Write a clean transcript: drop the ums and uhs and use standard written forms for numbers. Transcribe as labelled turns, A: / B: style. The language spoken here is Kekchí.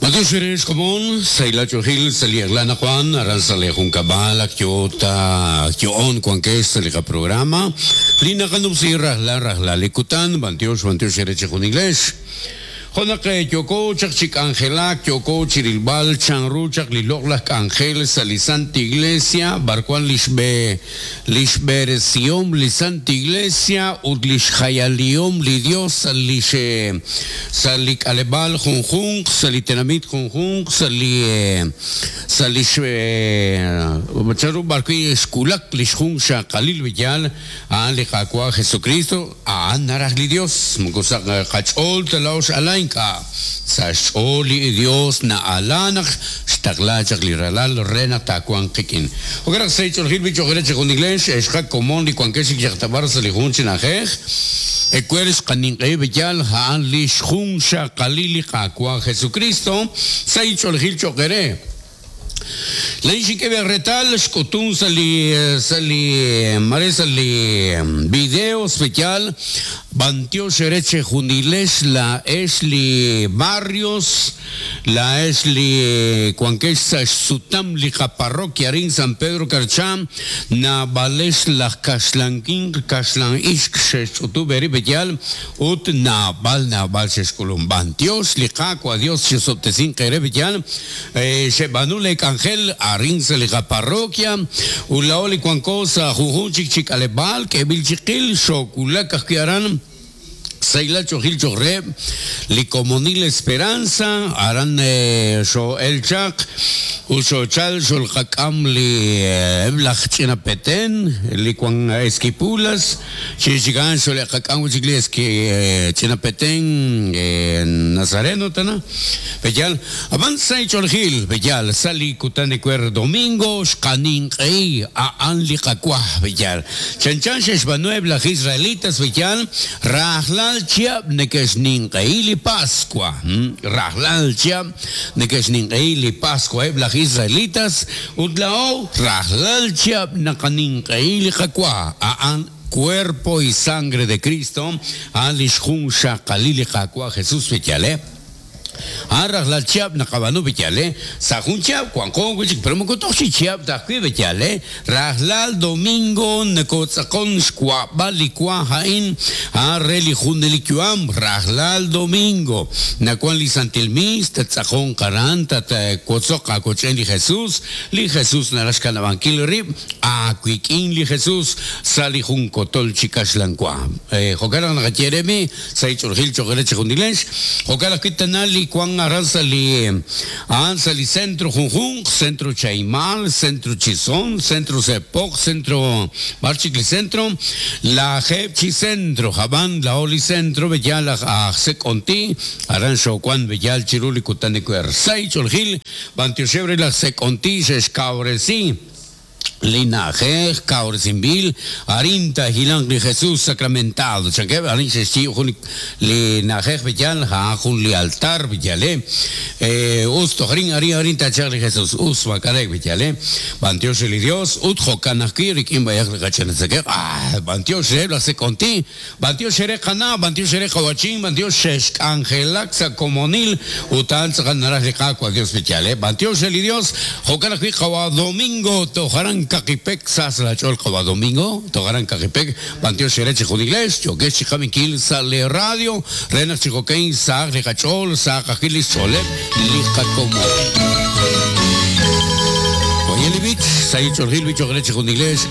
A: Matiox eere xkomon, sahil ach'oolejil sa' li eq'la anaqwan, aran sa' lee junkab'al ak yoo ta yo'on wankex sa' li qaprograma li naqanumsi rajlal rajlal li kutan. B'antiox, b'antiox eere chejunilex. Jo' naq yooko chaq chi k'anjelak, yooko chirilb'al chanru chaq li loq'laj k'anjel sa' li Santa Iglesia, b'arwan lix b'e, lix b'eresihom li Santa Iglesia ut lix jayalihom li Dios sa' lix, sa' li k'aleb'aal junjunq, sa' li tenamit junjunq, sa' li, sa' lix, chanru b'arwi' xwulak lix junxaqalil b'eyal, a'an li Qaawa' Jesukristo. A'an naraj li Dios, moko sa' qach'ool ta laa'o x'ala ink'a', sa' xch'ool li Dios na'ala naq xtaqla chaq li Ralal re naq taawanq qik'in. Jo'kan naq sa' ch'oolejil b'i' cho'q eere chejunilex, ex qakomon li wankex chik yaqtab'ar sa' li jun chi na'ajej, ewer xqaninq'ehi b'eyal a'an li xjunxaqalil li Qaawa' Jesukristo, sa' ch'oolejil cho'q eere. Laa'in xink'e b'e reetal xk'utun sa' li sa' li mare sa' li video especial b'antiox eere chejunilex laa'ex li barrios, laa'ex li wankex sa' xsutam li qaparroquia arin San Pedro Carchá, naab'alex laj kaxlan winq, kaxlan ixq xe'xch'utub' eerib' b'eyal Ut naab'al naab'al xe'xk'ulum. B'antiox li Qaawa' Dios xe'sob'tesinq eere b'iyal, xeb'aanu lee k'anjel arin sa' li qaparroquia, ut laa'o li wanko sa' junjunq chik chi k'aleb'aal k'eeb'il chiqil, xoowulak ajwi' aran Sahilal Ch'oojil cho'q reheb' li Komonil Esperanza, aran xoo'el chaq ut xoochal xolqak'am li eb' laj ch'ina Petén li wan Esquipulas, Chirix chik a'an xole'qak'am wi' chik li eski ch'ina Petén Nazareno tana, b'eyal. Ab'an sa' ch'oolejil, b'eyal, sa' li kutan ewer domingo xqaninq'ehi a'an li qawa, b'eyal. Chanchan xe'xb'aanu eb' laj Israelitas, b'eyal, rajlal chihab' neke'xninq'ehi li Paswa. Rajlal chihab' neke'xninq'ehi li Paswa eb' laj Israelitas, Ut laa'o rajlal chihab' naqaninq'ehi li qawa, a'an Cuerpo y Sangre de Cristo, a'an lix junxaqalil li Qaawa' Jesus b'eyale. A'an rajlal chihab' naqab'aanu b'eyale, sa' jun chihab' wanqo wi' chik, pero moko toj chi chihab' ta ajwi' b'eyale, rajlal domingo nokotz'aqon xwa'b'al li wa a'in, a'an re li junelik yu'am, rajlal domingo nawan li santil miis, tattz'aqonq aran, tatwotzoq aawoch'en li Jesus, li Jesus naraj xkanab'ankil rib' aawik'in li Jesus sa' li jun kotol chi kaxlan wa. Jo'kan naq naqaye eere mi sa' li ch'oolejil cho'q eere chejunilex, jo'kan ajwi' tana li wank aran sa' li a'an sa' li centro junjunq, centro Chahimal, centro Chisón, centro Sepok, centro b'ar chik li centro, lajeeb' chi centro, ab'an laa'o li centro b'eyal aj aj Sek'onti, aran xoowank b'eyal chiru li kutan ewer. Sa' ch'oolejil b'antioxeb' re laj Sek'onti xe'xkawresi li na'ajej kawresinb'il, arin taahilanq li Jesus sacramentado, chankeb', arin xe'xyiib' jun li na'ajej b'eyal, a'an jun li altar b'eyal, us toj arin, arin, arin taachalq li Jesus, us maak'a'rek b'eyal, b'antiox re li Dios, ut jo'kan ajwi' rik'in b'ayaq li qach'ina tzakemq, ah, b'antiox reheb' laj Sek'onti, B'antiox eere qana', b'antiox eere qawa'chin, b'antiox xexk'anjelak sa' komonil ut a'an tz'aqal naraj li Qaawa' Dios li yaal. B'antiox re li Dios, jo'kan ajwi' qawa' Domingo toj aran Kaqipek, sa sa' laach'ool qawa' Domingo toj aran Kaqipek, b'antiox eere chejunilex, yookex chi qab'inkil sa' lee radio re naq chi jo'kan sahaq li qach'ool, sahaq ajwi' li xch'ooleb' li qakomon. Oye li b'ich, sahil ch'oolejil b'ich cho'q re chejunilex.